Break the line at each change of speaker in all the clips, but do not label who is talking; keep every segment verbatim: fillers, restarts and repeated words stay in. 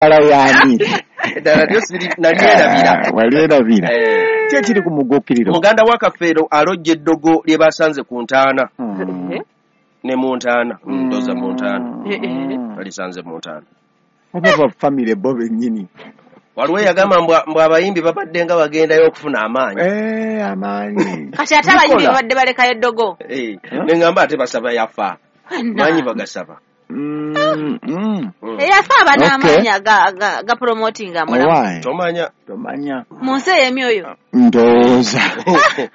Yani
ddala lyo siri nalyerabira
walyerabira ki ekiri ku muguukiriro
muganda wa Kafeero alojja eddogo lye basanze ku ntaana ne mu ntaana ndooza mu ntaana balisanze mu ntaana
oba ba famire bo bennyini
waliwo eyagamba mbu abayimbi babadde nga bagendayo okufuna amaanyi
eh amaanyi
kati ate abayimbi babadde balekayo eddogo
eh ne ngamba ate basaba yafa maanyi bagasaba
eyafa aba n'amaanyi aga promotinga amulamu
tomanya
tomanya
mu nsi ey'emyoyo
ndowooza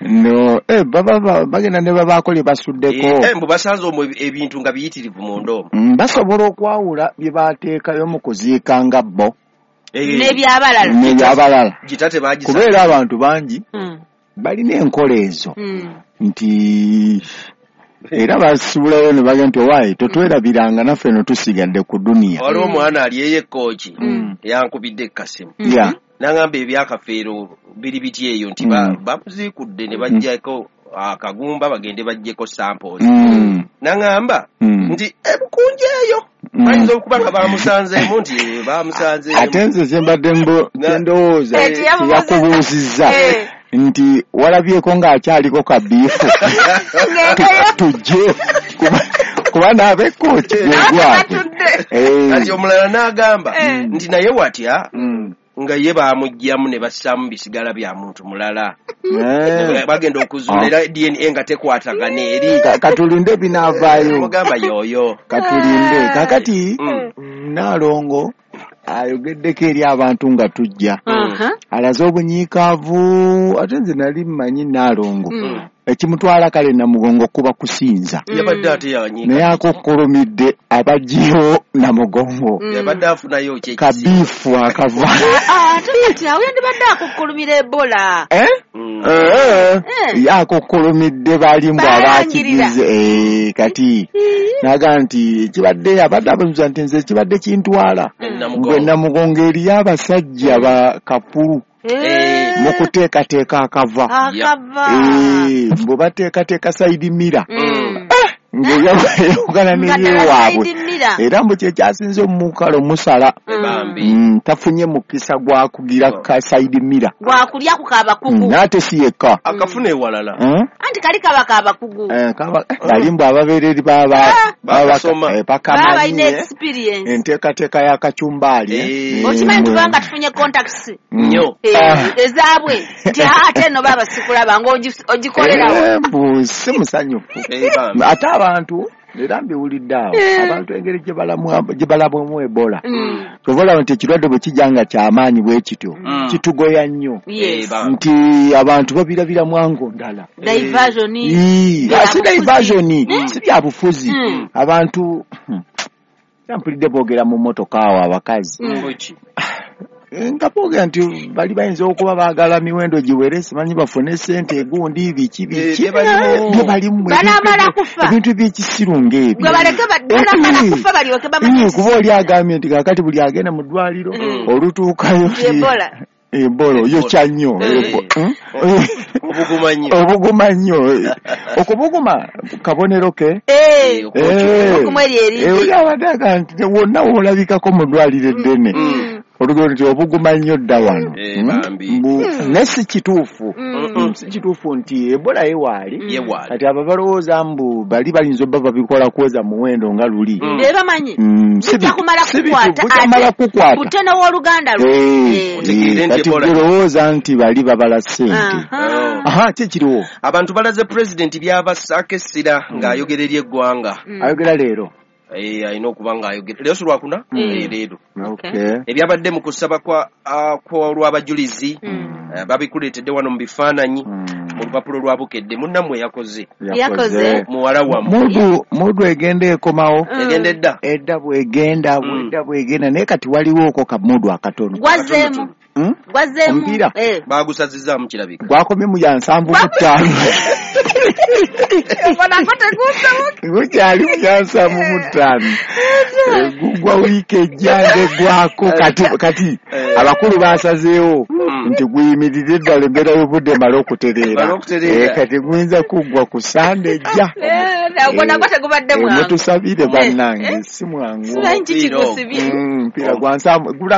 no eh baba bagenda ne babaako lye basuddeko
eh mbu basanze omwo ebintu nga biyitirivu munda omwo
basobola okwawula bye bateekayo mu kuziika nga bo
n'ebyabalala
n'ebyabalala
gitate bagisa
kubeera abantu bangi balina enkola ezo nti era basubulayo ne bagenda nti owaaye totwerabiranga naffe no tusigadde ku duniya
waliwo omwana ali eyo ekkooki yankubidde ekkasimu n'angamba ebyakafeero biri biti eyo nti bamuziikudde ne baggyako akagumba bagende baggyeko samples n'angamba nti ebukunja eyo bayinza okuba nga bamusanzeemu nti bamusanzeemu
ate nze ze mbadde ndowooza yakubuuzizza nti walabyeko ng'akyaliko kabiifu tujje kuba n'ab'ekooki gwegwabwe
kati omulala n'agamba nti naye watya nga ye bamuggyamu ne bassaamu bisigala bya muntu mulala bagenda okuzuula era D N A nga tekwatagana eri
katulinde binaavaayo
mugamba yooyo
katulinde kakati Nnaalongo ayogeddeko eri abantu nga tujja alaze obunyiikaavu ate nze nali mmanyi Nnaalongo ekimutwala kale Namugongo kuba kusinza
yabadde ate yanyiika
naye akokkolomidde abaggyeyo Namugongo
yabadde afunayo ki
kabiifu akava
ate kati awo yandibadde akokkolomira Ebola ye
akokkolomidde bali mbu abakigize kati naga nti kibadde abadde abazuza nti nze kibadde kintwala gwe Namugongo eriyo abasajja ba kapulu mu kuteekateeka akava mbu bateekateeka sayidi mira ng'eyawukana neyewaabwe era mbu kyekyasinze omukalo musala tafunye mukisa gwa kugira ka sayidi mira
gwakulya ku kabakugu
n'ate si yekka
akafuna ewalala
anti kali kaba kabakugu
bali mbu ababeereri
bakamanyi
enteekateeka ya kacumbaali
okimanyi tubanga tufunye contacts
nnyo
ezaabwe nti ate nno baba sikulaba ng'ogikolerawo
mbu si musanyufu ate abantu era mbiwulidde awo abantu engeri gye balabwamu Ebola kyova olaba nti ekirwadde bwe kijja nga kyamaanyi bwe kityo kitugoya nnyo nti abantu babirabiramu ango ndala si diversion si byabufuzi abantu mpulidde boogera mu mmotoka awo abakazi nga boogera nti bali bayinza okuba baagala miwendo giwere simanyi bafune ssente egundi biki biki bye balimu ebintu by'ekisiru ng'ebyo kuba oli agambye nti kaakati buli agenda mu ddwaliro olutuukayo Ebola oyokya nnyo obuguma nnyo okubuguma kabonero ke oli abadde agamba nti wonna woolabikako mu ddwaliro eddene olugero nti obuguma nnyo dda wano naye si kituufu si kituufu nti Ebola yewaali kati abo balowooza mbu bali bayinza obba babikola kwoza muwendo nga luli
bebamanyi bujja
kukwata
buteno w'oluganda
kati golowooza nti bali babala ssente aha ki kiriwo
abantu balaze pulezidenti byabassaako essira ng'ayogera eri eggwanga
ayogera leero
eh alina okuba ng'ayogera leero si lwakuna leero ebyabadde mu kusaba kwa kw'olw'abajulizi babikuleetedde wano mu bifaananyi mu lupapula lwa Bukedde munnammwe yakoze muwala wammwe
mudu egenda ekomawo
egenda edda
edda bwegenda bwedda bwegenda naye kati waliwo oko kamudu akatono
gwazeemu gwazeemu
omupiira
bagusazizaamu kirabika
gwakomye mu ya nsanvu mu ttaano gukyali mu ya nsanvu mu ttaano gugwa wiiki ejja ng'eggwako kati kati abakulu basazeewo nti guyimirire eddala embeera y'obudde emale okutereera kati guyinza kuggwa ku Sande ejja
Ogwo nagwo tegubadde mwangu.
Mutusabire bannange, si mwangu.
Simanyi kikikusibye.
Omupiira gwansamu gulaga.